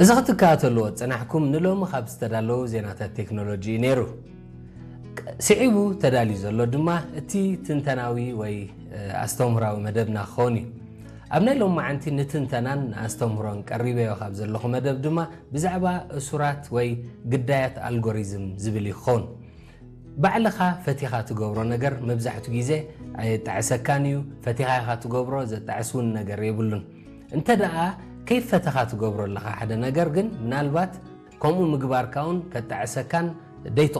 እዚ ክትከታተልዎ ዝጸናሕኩም ንሎሚ ካብ ዝተዳለዉ ዜናታት ቴክኖሎጂ እዩ ነይሩ። ስዒቡ ተዳልዩ ዘሎ ድማ እቲ ትንተናዊ ወይ ኣስተምህራዊ መደብና ክኸውን እዩ። ኣብ ናይ ሎማዓንቲ ንትንተናን ንኣስተምህሮን ቀሪበዮ ካብ ዘለኹ መደብ ድማ ብዛዕባ እሱራት ወይ ግዳያት ኣልጎሪዝም ዝብል እዩ ክኸውን። ባዕልኻ ፈቲኻ ትገብሮ ነገር መብዛሕቱ ግዜ ኣየጣዕሰካን እዩ። ፈቲኻ ኢኻ ትገብሮ፣ ዘጣዕስ እውን ነገር የብሉን። እንተ ደኣ ከይፈተኻ ትገብሮ ኣለኻ ሓደ ነገር ግን ምናልባት ከምኡ ምግባርካ እውን ከጣዕሰካን ደይትቕ